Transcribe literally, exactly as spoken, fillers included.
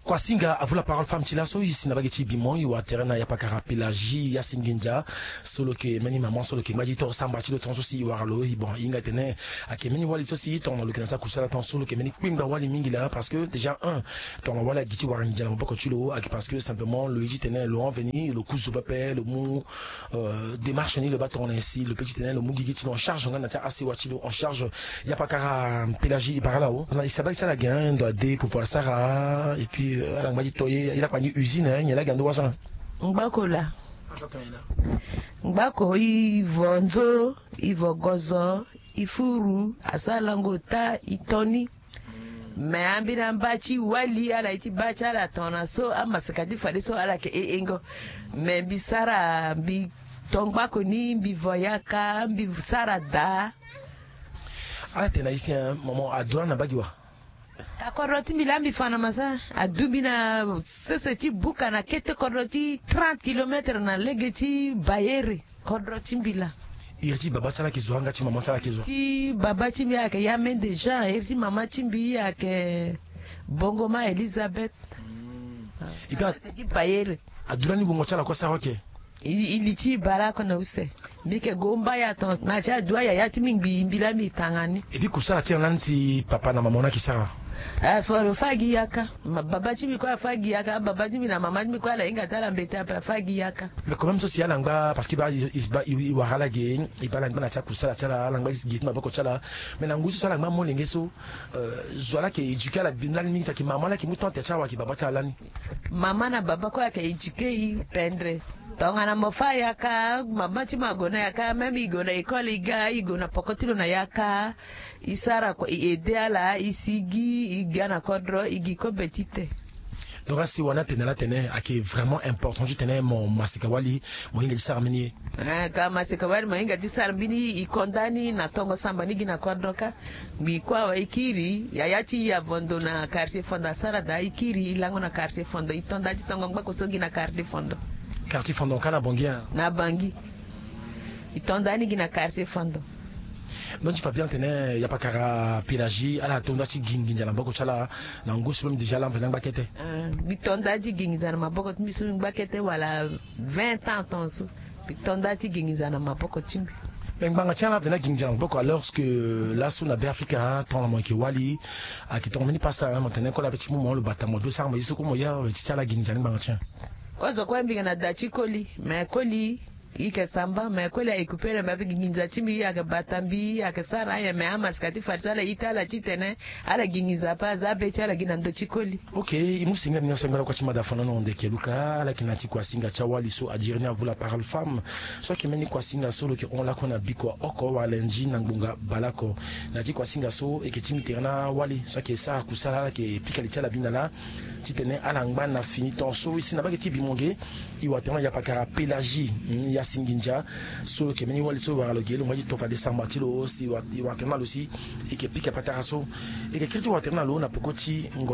Kuasinga, à vous la parole femme. Ti laso e si na mbage ti Bimon, e wara tere na yapakara Pélagie Yasingindia, so lo yeke mbeni maman so lo yeke ngba ti toro samba ti lo tongaso si e wara lo. E bon, e hinga titene ayeke mbeni wali so si tongana lo yeke na ti akusala tongaso lo yeke mbeni kpengba wali mingi laa, parce que déjà un, tongana wali agi ti wara nginza na maboko ti lo, ayeke parce que simplement lo ye titene lo hon veni, lo ku zo pepe, lo mu euh, démarche ni lo baa tongana nyen si lo peut titene lo mu gigi ti lo en charge nga na ti asewa ti lo en charge. Yapakara Pélagie, e bara laa o. Na e si na mbage ti ala ge, hein, ndo ade, popo asara, et puis, euh, ala ngba ti to ye, e lakpa ni usine, hein, nyen laa ge ando wasa? Ngbako laa. Ngbako, e vo nzo, e vo gozo, e furu, asara lango ota, e to ni. Me ambeni amba ti wali ala ye ti baa ti ala tongana so, amaseka ti fadeso ala yeke e engo. Me mbi sara, mbi to ngbako ni, mbi vo yaka, mbi sara daa. Ala tene na e si, hein, maman, adu lani na mbage wa? Ka kodro ti mbi laa mbi fa na masa, adu mbi na sese ti buka na kete kodro ti trente kilomètres na lege ti Bayere. Kodro ti mbi laa. Iri ti baba ti ala ayeke zo, anga ti mama ti ala ayeke zo? Ti baba ti mbi ayeke Yamende Jean, iri ti mama ti mbi ayeke Bongoma Elisabeth. Mm. Ah, e pe a- ti Bayere. Adu lani wungo ti ala kue asara oke? E, e li ti e bale oko na use. Mbi yeke gue mba ya ton na ti adu ayaya ti mbi ngbii, mbi laa mbi tanga ni. Et puis kusala ti ala lani si papa na mama wani ayeke sara? Ah, fo, fo a gi yaka. Ma, baba ti mbi kue afa gi yaka, baba ti mbi na mama ti mbi kue ala hinga ti ala mbete ape, afa gi yaka. Mais quand même so si ala ngba, parce que e baa, e, e, e wara ala ge, e baa ala ngba na ti akusala ti ala, ala ngba gi ti maboko ti ala. Mais na ngoi so si ala ngba molenge so, euh, zo ala yeke éduquer ala lani mingi, si ayeke mama lani ayeke mu temps ti ala wala ayeke baba ti ala lani? Mama na baba kue ayeke éduquer e pendre. Tongana mo fa yaka, mama ti mo ague na yaka, même e gue na école e ga, e gue na poko ti lo na yaka. E sara kua, e aide ala, e sigi, e ga na kodro, e gi kobe ti te. Donc asi wani atene ala tene ayeke vraiment important titene mo maseka wali, mo hinga ti sara mbeni ye. Eh, ka maseka wali, mo hinga ti sara mbeni ye, e konda ni na tongo samba ni gi na kodro kâ. Ngbii kue awe e kiri, yaya ti e avondo na quartier Fondo asara daa, e kiri e lango na quartier Fondo, e to nda ti tongo ngbako so gi na quartier Fondo. Quartier Fondo ka na Bangui, hein? Na Bangui. E to nda ni gi na quartier Fondo. Donc ti fa bien tene yapakara Pélagie ala to nda ti gi nginza na maboko ti ala na ngu so même déjà ala mveni angba kete. Ah, mbi to nda ti gi nginza na maboko ti mbi so mbi ngba kete wala vingt ans tongaso. Mbi to nda ti gi nginza na maboko ti mbi. Mais ngbanga ti ala mveni agi nginza na maboko, alors que laso na Beafrika, tongana mo yeke wali, ayeke tongana mbeni pasa, hein, mo tene kue ala pe ti mu mo lo bata mo do sara mo ye so kue mo ya, ti ti ala gi nginza ni ngbanga ti ala. Kozo kue mbi yeke na da ti koli, mais koli e yeke samba, mais koli ayeke kupere mbi ape gi nginza ti mbi, ayeke bata mbi, ayeke sara aye, mais amasika ti fade so ala ita ala titene ala gi nginza ape, aza be ti ala gi na ndö ti koli. Ok, e mu singa ni na so ngba lakue ti mada fana na hon ndeke luka, ala yeke na ti kuasinga ti awali so adiri ni à vous la parole femme. So ayeke mbeni kuasinga so lo yeke hon lakue na bikua oko wala nzi na ngbonga baleoko. Na ti kuasinga so e yeke ti mu tere na awali so ayeke sara kusala, ala yeke pika li ti ala bi na laa. Titene ala ngba na fini temps so e si na mbage ti Bimon ge. E wara tere na yapakara Pélagie, mm, Yasingindia. So lo yeke mbeni wali so e wara lo ge, lo ngba ti to fade samba ti lo si e wara, e wara tere na lo si e yeke pika patara so. E yeke kiri ti wara tere na lo na peko ti ngo